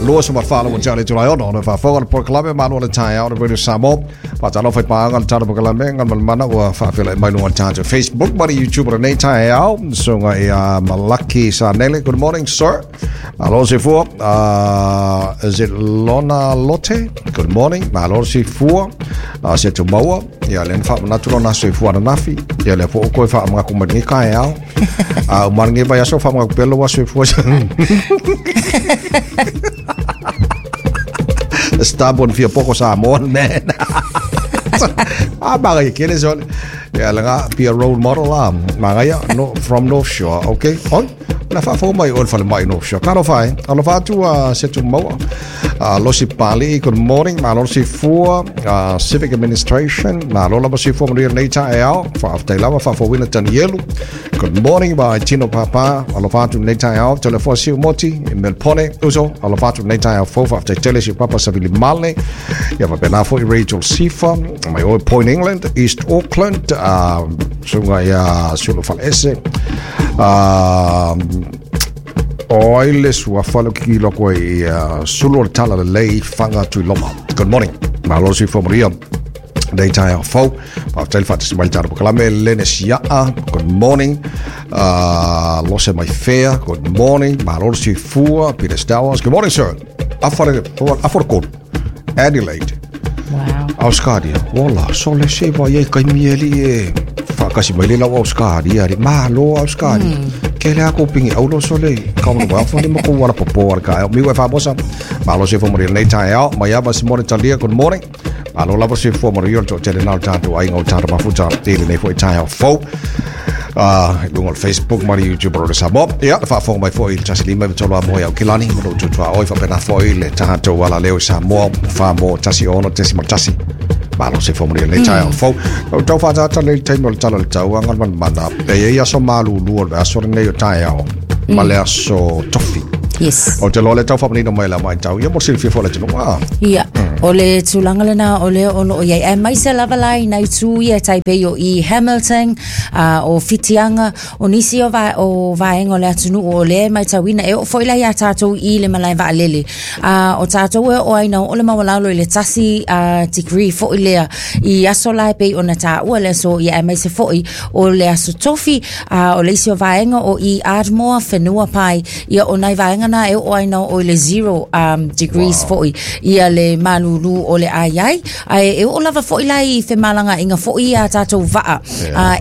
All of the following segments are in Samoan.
24 ua tale tulai ono ona faafofoga le polokalame Malo le Taeao le Radio Samoa. Faatalofa i paaga le tala polokalame ngal malamana ua faafeiloai mai luga o le tatou Facebook ma le YouTube o lenei taeao. Susuga ia Malaki Sanele. Good morning, sir. Malo le soifua. Is it Lona Lote? Good morning. Malo le soifua. Se tumaua. Ia lea na faamanatu lona soifua ananafi. Ia lea foi ua toe faamanatu mai lenei taeao. A uma lenei vaiaso faamanatu pea lou aso soifua. Stubborn fia poko Samoan man. Ah, magaia kele sole. Ia lega be a role model ah. Magaia no, from North Shore. Okay. Oi. Na faafofoga mai o le falemai North Shore. Talofa e. Alofa atu a se tumaua. Losi Pali, good morning. Malo le soifua. Civic Administration, malo lava soifua manuia lenei taeao. Faafetai lava, faafouina Tanielu. Good morning, by Tino Papa. Alofa atu lenei taeao. Telefoa Siu Moti, i Melpone. Uso, alofa atu lenei taeao fou. Faafetai tele si Papa Savili Male. Ia faapena foi Rachel Sifa. Mai oe Point England, East Auckland. Susuga ia Sulu Faleese. O ai le suafa le kikilo koe i Sulu o le Tala Lelei Whanga Tuiloma. Good morning. Malo soifua manuia. Nei taeao fou. Faafetai le faatasi mai le tatou polokalame Lene Siaa. Good morning. Lose mai Fair. Good morning. Malo le soifua. Peter Stowers. Good morning, sir. Afa le, afa le kolu. Adelaide. Wow. Australia. Ola, sole se vai ai kaimi e li e whaakasi mai le lau Australia. Ri malo Australia. Ke le ako pingi aulo sole. Ka mo wa fo ni mo ko wala popo ala ka. Mi wa famosa. Malo se fo mo nei tai ao. Mai ava se mo talia. Good morning. Malo lava se fo mo yo to tele nau tātou ai ngau tātou mafuta. Tele nei fo i tai ao fo. I luga o le Facebook ma le YouTube o le Samoa. Ia, le faafofoga mai foi i le tasi lima iva tolu a moe au kilani, ma lou tutua oi faapena foi le tatou alaleo i Samoa, 4 mo 16.1. Malo se fo manuia lenei taeao fou. Ua tau faaataata lelei le taimi o le tala o le tau aga manamana. E i ai aso malulu o le aso lenei o taeao ma le aso tofi. Yes. Ou te iloa o lea tau faamanino mai le matau ia mo le silafia foi o le atunuu. Ah. Ia, o le tulaga lena o lea o loo i ai. Aemaise lava la i nai itu ia e tai pei o i Hamilton, o Whitianga, o nisi o, va, o vaega o le atunuu o lea e matauina. E oo foi la iā tātou i le malae vaalele. O tātou e oo ai na oo le maualalo i le tasi degree foi lea i aso la e pei ona taua le aso ia aemaise foi o le aso tofi, o le isi o vaega o i Ardmore, Whenua Pai, ia o nai vaega na e oo ai na oo i le zero degrees foi ia le malūlū o le ai ai. Ae e oo lava foi la i femalagaaiga foi ia tātou vaa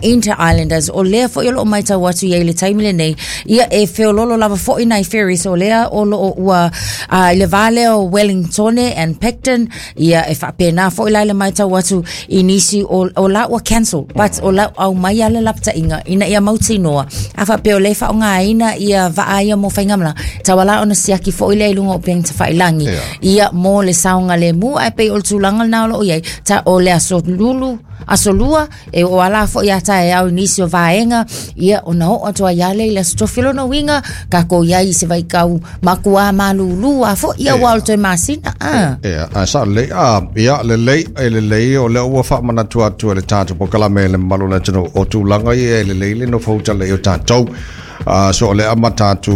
Inter Islanders o lea foi o loo matau atu i ai i le taimi lenei ia e feololo lava foi nai ferries o lea o loo ua i le va lea o Wellingtone and Picton ia e faapena foi la i le matau atu i nisi o, o la ua cancel but o la aumai a le lapataiga ina ia mautinoa a faapea o lea e faaaogaina ia vaa ia mo faigamalaga tauala ona siaki foi lea i luga o upega tafailagi ia mo le saogalemu ae pei o le tulaga lena o loo i ai ta o le aso lulu aso lua e oo ala foi ia taeao i nisi o vaega ia ona oo atu ai lava lea i le aso tofi. O lona uiga tatou i ai i se vaitau matua malūlū a foi ia ua o le toe masina a. Ia, ae sao lelei, a, ia, lelei, e lelei, o lea ua faamanatu atu e le tatou polokalame le mamalu o le atunuu, o tulaga ia e lelei le nofo uta lelei o tatou. So o lea amata atu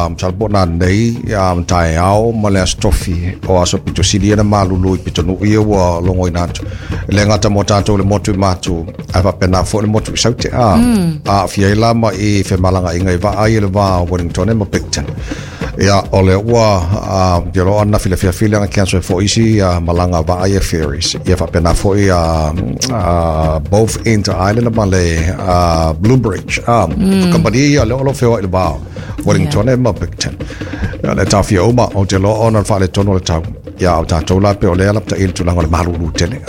masalo po o nanei taeao ma le aso tofi o aso pito sili ia na malulu i pitonuu ia ua logoina atu. E le gata mo tatou le motu i Matu, ae faapena foi le motu i Saute. Aafia ai la ma i femalagaaiga i vaa ai i le va o Wellington ma Picton. Ia, o lea ua ia loa na filafila ana cancel ai foi isi malaga vaa ia ferries. Ia faapena foi both Inter Island ma le Blue Bridge. Kamupani ia lea o lo o feoai i le va o Wellington ma Picton. Ia, le taofia uma, ou te iloa ona o le faaletonu o le tau. Ia, o tatou la pei o lea lapataia i le tulaga o le malulu tele.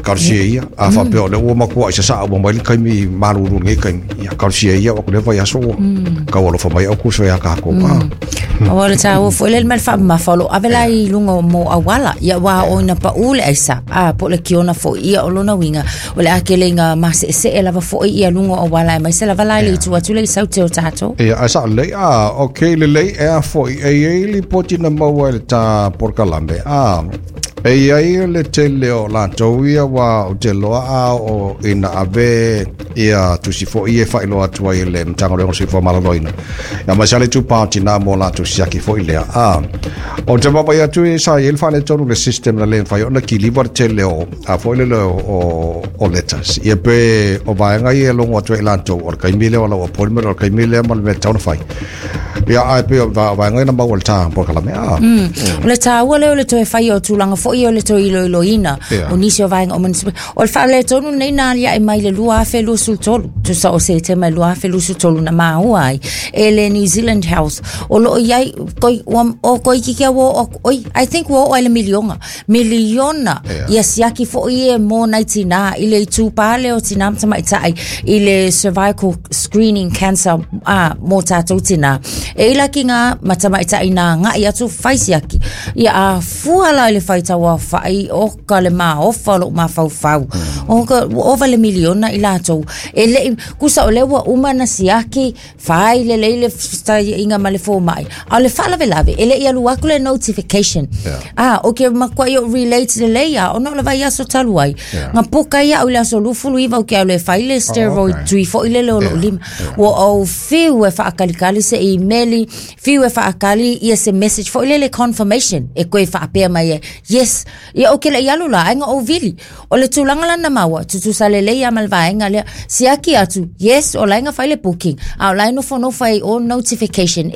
Talosia ia, a faapea o lea ua matuai sasaa uma mai le taimi malulu i lenei taimi, ia talosia ia o atu lea vaiaso ua tau alofa mai au kuso ia tatou. Aua o le taua foi lea le mea le faamamafa o lo o ave la i luga o mo auala ia ua oo ina paū le aisa a po o le kiona foi ia o lona uiga o le a tele ina maseesee lava foi ia luga o auala aemaise lava la i le itu atu lea i Saute o tatou. Ia, ae sao lelei, a, okay, lelei, ea foi, e i ai lipoti na maua e le ta polokalame, a, E iai le tele o latou ia ua ou te iloa a oo ina ave ia tusi foi ia e faailoa atu ai e le Matagaluega o le Soifua Maloloina. Ia aemaise lava le itupa o tina mo latou siaki foi lea. A, ou te vaavaai atu sa i ai le faaletonu i le system na le mafai ona kiliva le tele o a foi lele o letters. Ia pe o vaega ia e logo atu ai latou o le taimi lea o lau appointment o le taimi lea ma le mea e tatau ona fai. Ia ae pei o vaega ia na maua i le ta polokalame. A. O le taua lea o le toe fai o tulaga foi o le toe iloiloina o nisi o vaega o municipal. O le faaletonu lenei na aliae mai le 2023, tusa o Setema 2023 na maua ai e le New Zealand Health. O loo i ai, koi, ua, o toeitiiti lava ua oo atu, oi, I think ua oo lava i le miliona. Miliona ia siaki foi e mo nai tinā i le itupa lea o tinā ma tamaitai i le cervical screening cancer a mo tātou tinā. E i la ki ngā ma tamaitai nā agai atu fai siaki. Ia a fua la i le faitau aofai o ka le maofa o lou mafaufau. O ka ua ova le miliona i latou. E le i, kusa o lea ua uma na siaki, fai lelei le fetaiaiga ma le fomai. A o le faalavelave, e le i alu atu le notification. Yeah. A, o ke makuai o relate lelei a, ona o le vaiaso talu ai. Yeah. Nga puka ia au i le aso 29 ou ke alu e fai le steroid Oh, okay. tui foi lele o lou Yeah. lima. Ua ou fiu e faakalikali se imeli, fiu e faakali ia se message foi lele confirmation e koe faapea mai ai. Yes, ia ou ke le i alu la, ai nga ou vili. O le tulaga la na maua, tutusa lelei lava ma le vaega lea. Siaki atu, yes, o la e na fai le booking, a o la e nofonofo ai i o notification.